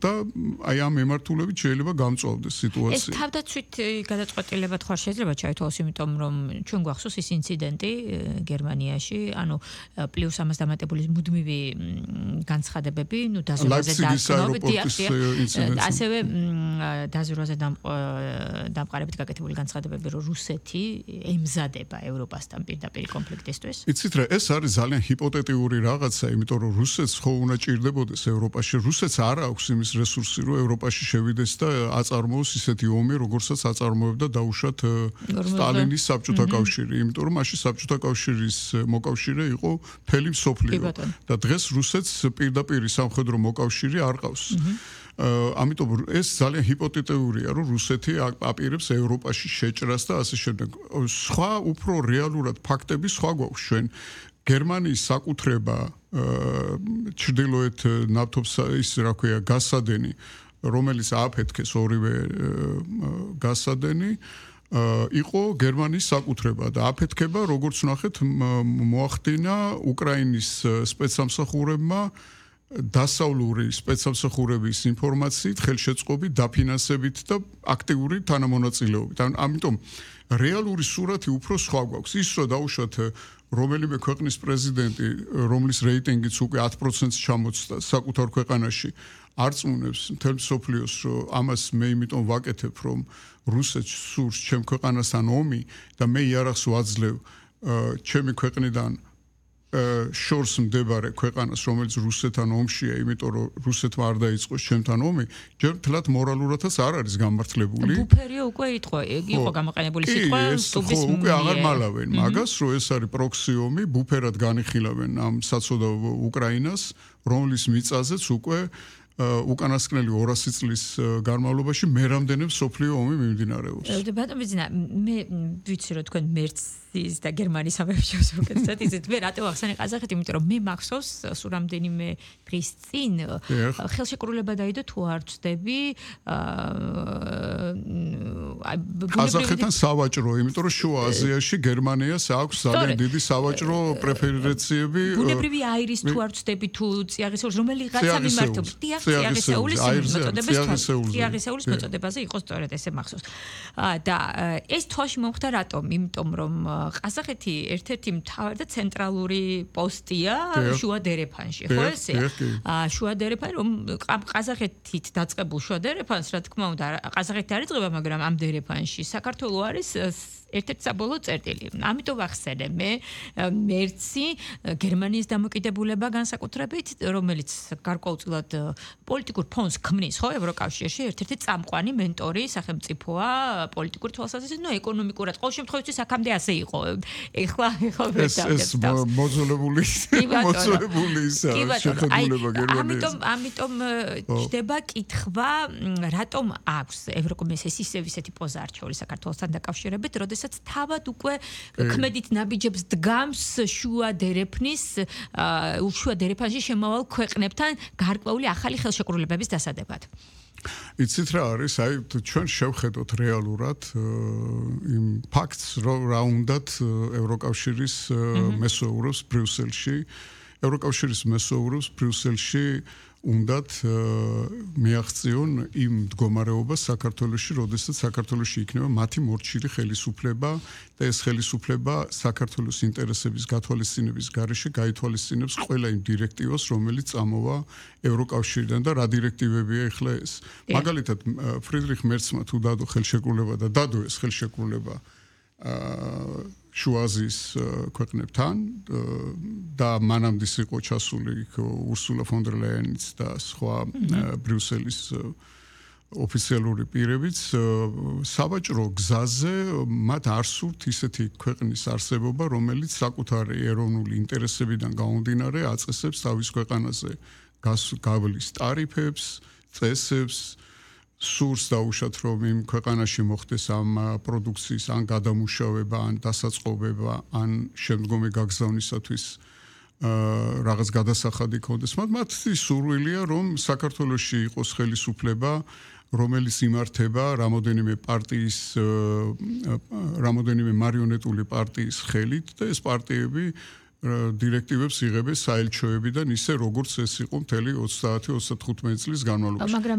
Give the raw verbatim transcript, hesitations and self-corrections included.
და აი ამ მიმართულებით შეიძლება გამწვავდეს სიტუაცია. ეს თავდაცვით გადაწყვეტილებად ხარ შეიძლება ჩაითვალოს, იმიტომ რომ ჩვენ გვახსოვს ის ინციდენტი გერმანიაში, ანუ პლუს ამას დამატებული მუდმივი განცხადებები, ნუ დაზვერვაზე დაყრდნობით, ასევე დაზვერვაზე დამყარებით გაკეთებული განცხადებები, რომ რუსეთი ემზადება ევროპასთან პირდაპირ კონფლიქტისთვის. იცით რა, ეს არის ძალიან ჰიპოთეტიური რაღაცა, იმიტომ რომ რუსეთს ხო უნდა ჭირდებოდეს ევროპაში, რუსეთს არ აქვს იმის რესურსი, რომ ევროპაში შევიდეს და აწარმოოს ისეთი ომი, როგორცაც აწარმოებდა დაუშვათ სტალინის საბჭოთა კავშირი, იმიტომ რომ მაშინ საბჭოთა კავშირის მოკავშირე იყო მთელი მსოფლიო და დღეს რუსეთს პირდაპირ სამხედრო მოკავშირე არ ყავს. ამიტომ ეს ძალიან ჰიპოთეტურია, რომ რუსეთი აპირებს ევროპაში შეჭრას და ასე შემდეგ. სხვა უფრო რეალურად ფაქტები სხვა გვაქვს ჩვენ. გერმანიის საკუთრება ჩრდილოეთ ნავთობს ის რა ქვია გასადენი, რომელიც ააფეთქეს ორივე გასადენი, იყო გერმანიის საკუთრება და აფეთქება, როგორც ვნახეთ, მოახდინა უკრაინის სპეცსამსახურებმა დასავლური სპეცსამსახურების ინფორმაციით, ხელშეწყობით, დაფინანსებით და აქტიური თანამონაწილეობით. ამიტომ რეალური სურათი უფრო სხვა გვაქვს. ის რომ დაუშვათ რომელიმე ქვეყნის პრეზიდენტი, რომლის რეიტინგიც უკვე ათ პროცენტს ჩამოწდა საკუთარ ქვეყანაში, არ წუნებს მთელ მსოფლიოს, რომ ამას მე იმიტომ ვაკეთებ, რომ რუსეთს სურს ჩემ ქვეყანასთან ომი და მე იარაღს ვაძლევ ჩემი ქვეყნიდან შორს მდებარე ქვეყანას, რომელიც რუსეთთან ომშია, იმიტომ რომ რუსეთმა არ დაიწყოს ჩემთან ომი, ჯერ მთლად მორალურადაც არ არის გამართლებული. ბუფერიო უკვე იტყვა, იყო გამოყენებული სიტყვა სტუბის მიერ. უკვე აღარ მალავენ მაგას, რომ ეს არის პროქსი ომი, ბუფერად განიხილავენ ამ საცოდავ უკრაინას, რომლის მიწაზეც უკვე უკანასკნელი ორასი წლის განმავლობაში მერამდენე მსოფლიო ომი მიმდინარეობს. ბატონო ბიძინა, მე ვიცი რომ თქვენ მერცის და გერმანიის სამეფოს უკეთესად იცით, მე რატო ახსენე ყაზახეთი, იმიტომ რომ მე მახსოვს სულ რამდენიმე დღის წინ ხელშეკრულება დაიდო თუ არ ვწდები ყაზახეთთან სავაჭრო, იმიტომ რომ შუა აზიაში გერმანიას აქვს ძალიან დიდი სავაჭრო პრეფერენციები. ბუნებრივი აირის თუ არ ვწდები თუ წიაღისეულის რომელიღაცა მიმართულებით წიაღისეულის მოწოდებას წიაღისეულის მოწოდებაზე იყო სწორედ ესე მახსოვს. და ეს თვალში მომხდა რატომ? იმიტომ რომ ყაზახეთი ერთ-ერთი მთავარი და ცენტრალური პოსტია შუა დერეფანში, ხო ესეა? შუა დერეფანი რომ ყაზახეთით დაწყებულ შუა დერეფანს, რა თქმა უნდა, ყაზახეთი არ იწყება, მაგრამ ამ დერეფანში საქართველო არის ერთ-ერთი საბოლოო წერტილი. ამიტომ ვახსენე მე მერცი გერმანიის დამოკიდებულება განსაკუთრებით, რომელიც გარკვეულწილად პოლიტიკურ ფონს ქმნის, ხო, ევროკავშირში ერთ-ერთი წამყვანი მენტორი სახელმწიფოა პოლიტიკურ თვალსაზრისით, ნუ ეკონომიკურად. ყოველ შემთხვევაში აქამდე ასე იყო. ეხლა ეხლა ეს მოძოლებული მოძოლებული შეხედულება გერმანიის. ამიტომ ამიტომ ჩდება კითხვა, რატომ აქვს ევროკომისიის ისევ ისეთი პოზა არჩეული საქართველოსთან დაკავშირებით, როდესაც თავად უკვე ქმედით ნაბიჯებს დგამს შუა დერეფნის შუა დერეფანში შემავალ ქვეყნებთან გარკვეული ახალი ხელშეკრულებების დასადებად. იცით რა არის, აი ჩვენ შევხედოთ რეალურად იმ ფაქტს, რომ რა უნდათ ევროკავშირის მესოურებს ბრიუსელში, ევროკავშირის მესოურებს ბრიუსელში უნდათ მიაღწიონ იმ მდგომარეობას საქართველოში, როდესაც საქართველოში იქნება მათი მორჩილი ხელისუფლება და ეს ხელისუფლება საქართველოს ინტერესების გათვალისწინების გარეშე გაითვალისწინებს ყველა იმ დირექტივას, რომელიც წამოვა ევროკავშირიდან და რა დირექტივებია ეხლა ეს. მაგალითად, ფრიდრიხ მერცმა თუ დადო ხელშეკრულება და დადო ეს ხელშეკრულება შუა აზიის ქვეყნებთან და მანამდის იყო ჩასული ურსულა ფონ დერ ლაიანიც და სხვა ბრიუსელის ოფიციალური პირებიც სავაჭრო გზაზე მათ არ სურთ ისეთი ქვეყნის არსებობა, რომელიც საკუთარი ეროვნული ინტერესებიდან გამომდინარე აწესებს თავის ქვეყანაზე გავლის ტარიფებს, წესებს, სურს დაუშვათ რომ იმ ქვეყანაში მოხდეს ამ პროდუქციის ან გადამუშავება, ან დასაწყობება, ან შემდგომი გაგზავნისათვის რაღაც გადასახადი ქონდეს. მათი სურვილია რომ საქართველოში იყოს ხელისუფლება, რომელიც იმართება რამოდენიმე პარტიის რამოდენიმე მარიონეტული პარტიის ხელით და ეს პარტიები დირექტივებს იღებენ საელჩოებიდან ისე როგორც ეს იყო მთელი ოცდაათი ოცდათხუთმეტი წლის განმავლობაში.